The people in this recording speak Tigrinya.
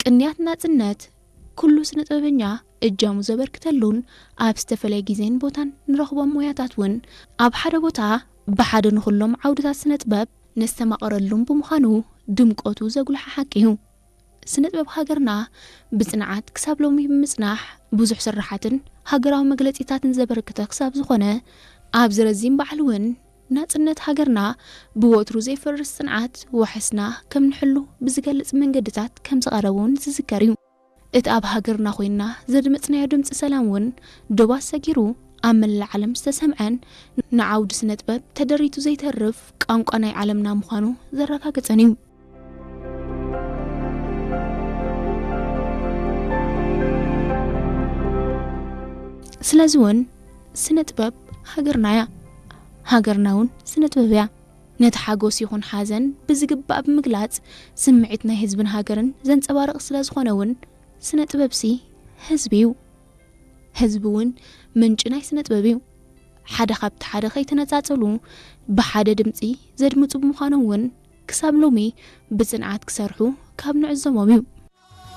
ቅንያት ናጽነት ኩሉ ስነ ጥበበኛ እጃሙ ዘበርክተሉን ኣብ ዝተፈላለየ ግዜን ቦታን ንረኽቦም ሞያታት እውን ኣብ ሓደ ቦታ ብሓደ ንኹሎም ዓውድታት ስነ ጥበብ ነስተማቐረሉን ብምዃኑ ድምቀቱ ዘጉልሐ ሓቂ እዩ። ስነ ጥበብ ሃገርና ብጽንዓት ክሳብ ሎሚ ብምጽናሕ ብዙሕ ስራሓትን ሃገራዊ መግለጺታትን ዘበርከተ ክሳብ ዝኾነ ኣብዚ ረዚን በዓል እውን ናጽነት ሃገርና ብወትሩ ዘይፈርስ ጽንዓት ዋሕስና ከም ንሕሉ ብዝገልጽ መንገድታት ከም ዝቐረበ እውን ዝዝከር እዩ። እቲ ኣብ ሃገርና ኮይና ዘድመጽናዮ ድምጺ ሰላም እውን ዶባት ሰጊሩ ኣብ መላእ ዓለም ዝተሰምዐን ንዓውዲ ስነ ጥበብ ተደሪቱ ዘይተርፍ ቋንቋ ናይ ዓለምና ምዃኑ ዘረጋገጸን እዩ። ስለዚ እውን ስነ ጥበብ ሃገርና እያ፣ ሃገርና እውን ስነ ጥበብ እያ። ነቲ ሓጎስ ይኹን ሓዘን ብዝግባእ ብምግላጽ ስምዒት ናይ ህዝብን ሃገርን ዘንጸባርቕ ስለ ዝኾነ እውን ስነ ጥበብሲ ህዝቢ እዩ። ህዝቢ እውን ምንጪ ናይ ስነ ጥበብ እዩ። ሓደ ካብቲ ሓደ ከይተነጻጸሉ ብሓደ ድምጺ ዘድምጹ ብምዃኖም እውን ክሳብ ሎሚ ብጽንዓት ክሰርሑ ካብ ንዕዘቦም እዩ።